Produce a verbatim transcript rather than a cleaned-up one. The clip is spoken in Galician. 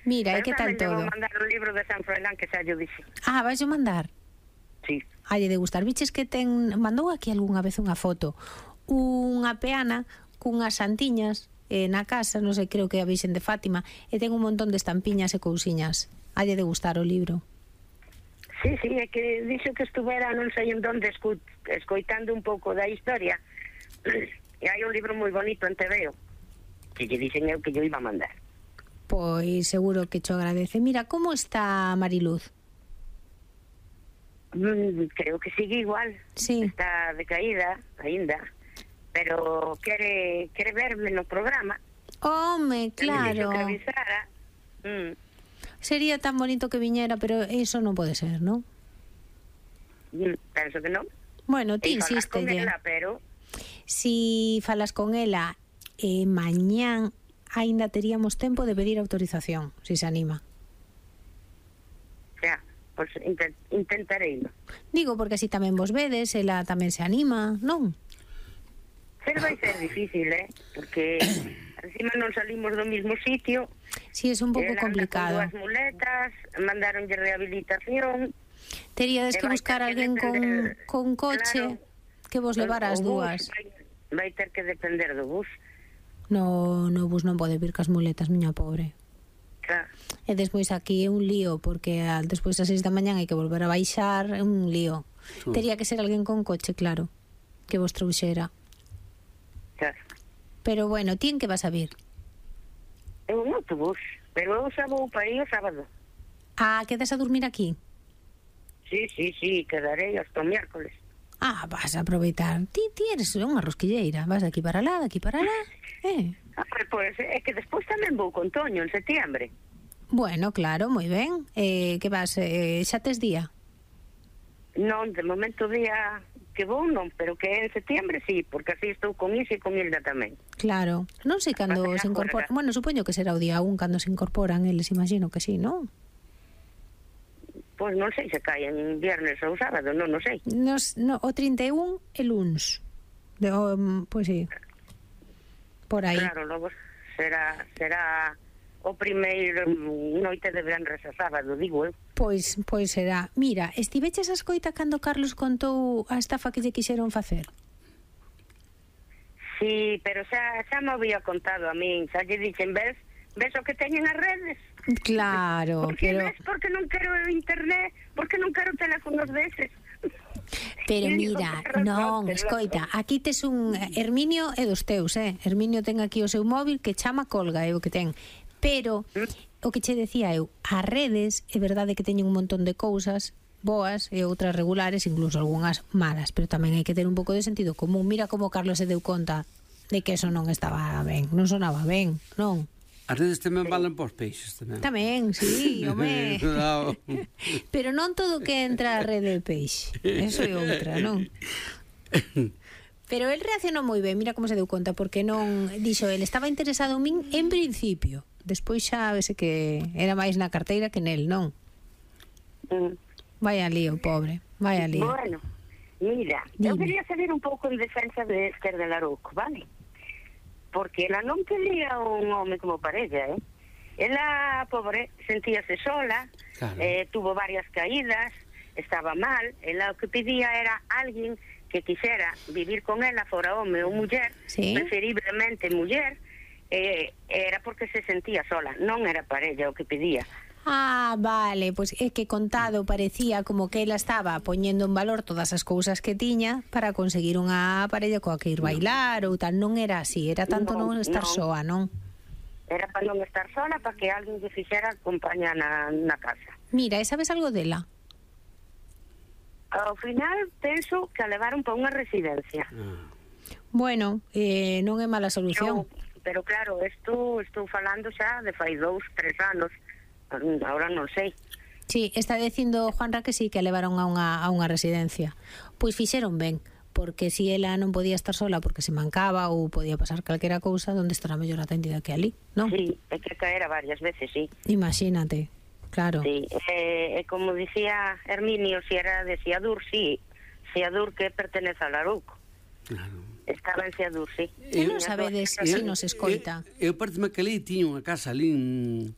Mira, e que tal todo? Vou mandar un libro de San Froilán que xa yo dixe. Ah, vais a mandar? Sí. Hai de gustar. Viches que ten... Mandou aquí algunha vez unha foto. Unha peana cunhas santiñas eh, na casa, non sei, creo que é a Virxen de Fátima, e ten un montón de estampiñas e cousiñas. Hai de gustar o libro. Sí, sí, é que dixo que estuvera non sei en donde escu escoitando un pouco da historia. E hai un libro moi bonito en T V O que lle dixen eu que yo iba a mandar. Pois seguro que cho agradece. Mira, como está Mariluz? Mm, creo que sigue igual. Sí. Está decaída aínda, pero quere quere verme no programa. Home, claro. Que avisara. Mm. Sería tan bonito que viñera, pero eso non pode ser, non? Mm, penso que non. Bueno, ti insístelle. Pero si falas con ela eh, mañán aínda teríamos tempo de pedir autorización, si se anima. Xa, pois intent, intentarei. Digo, porque así tamén vos vedes, ela tamén se anima, non? Pero vai ser difícil, eh? Porque encima non salimos do mismo sitio. Si, sí, é un pouco complicado. Con dúas muletas, mandaronlle rehabilitación. Teríades que buscar a alguén con, con coche, claro, que vos levara as dúas. Vai, vai ter que depender do bus. No, no bus non pode vir cas muletas, miña pobre. Claro. E despois aquí é un lío, porque despois das seis da mañán hai que volver a baixar, é un lío. Sí. Tería que ser alguén con coche, claro, que vos trouxera. Claro. Pero bueno, ti en que vas a vir? En un autobús, pero eu xa vou para aí o sábado. Ah, quedas a dormir aquí? Sí, sí, sí, quedarei hasta o miércoles. Ah, vas a aproveitar. Ti, ti eres unha rosquilleira. Vas de aquí para lá, de aquí para lá. Eh. Ah, pois é que despois tamén vou con Toño en setiembre. Bueno, claro, moi ben. Eh, que vas, eh, xa tes día? Non, de momento día que vou non, pero que en setiembre sí, porque así estou con Isi e con Hilda tamén. Claro. Non sei cando se incorporan. Bueno, supoño que será o día un cando se incorporan eles, imagino que sí, non? Pois non sei se cae en viernes ou sábado, non, non sei. Nos, no, o trinta e un e luns. De, um, pois sí. Por aí. Claro, logo será será o primeiro noite de venres a sábado, digo eu. Pois, pois será. Mira, estiveches a escoita cando Carlos contou a estafa que lle quixeron facer? Sí, pero xa, xa me había contado a min, xa lle dixen, ves, ves o que teñen as redes? Claro, porque pero... ves, porque non quero internet, porque non quero teléfonos deses. Pero mira, non, escoita, aquí tes un Herminio é dos teus, eh? Herminio ten aquí o seu móvil que chama colga, é o que ten. Pero o que che decía eu, as redes é verdade que teñen un montón de cousas boas e outras regulares, incluso algunhas malas, pero tamén hai que ter un pouco de sentido común. Mira como Carlos se deu conta de que eso non estaba ben, non sonaba ben, non? As redes tamén valen pos peixes tamén. Tamén, sí, home. Pero non todo que entra a rede de peixe. Eso é outra, non? Pero el reaccionou moi ben, mira como se deu conta, porque non, dixo, el estaba interesado en min en principio. Despois xa vese que era máis na carteira que nel, non? Mm. Vaya lío, pobre, vaya lío. Bueno, mira, Dime. eu quería saber un pouco en defensa de Esther de Larouco, vale? Porque ela non quería un home como parella, eh? Ela, pobre, sentíase sola, claro. eh, tuvo varias caídas, estaba mal, ela o que pedía era alguén que quixera vivir con ela, fora home ou muller, ¿sí? Preferiblemente muller, eh, era porque se sentía sola, non era parella o que pedía. Ah, vale, pois pues é que contado parecía como que ela estaba poñendo en valor todas as cousas que tiña para conseguir unha parella coa que ir bailar ou tal. Non era así, era tanto non, non estar non. soa, non? Era para non estar sola, para que alguén que fixera compañía na, na casa. Mira, e sabes algo dela? Ao final penso que a levaron para unha residencia. Bueno, eh, non é mala solución. Pero, pero claro, estou, estou falando xa de fai dous, tres anos. Ahora non sei. Sí, está dicindo Juanra que sí, que a levaron a unha, a unha residencia. Pois fixeron ben, porque si ela non podía estar sola porque se mancaba ou podía pasar calquera cousa, onde estará mellor atendida que ali, non? Sí, é que caera varias veces, sí. Imagínate, claro. Sí, e eh, como dicía Herminio, si era de Seadur, sí, Seadur que pertenece a Larouco. Claro. Estaba en Seadur, sí. E non sabedes se nos escoita. Eu, eu parece-me que ali tiña unha casa ali en...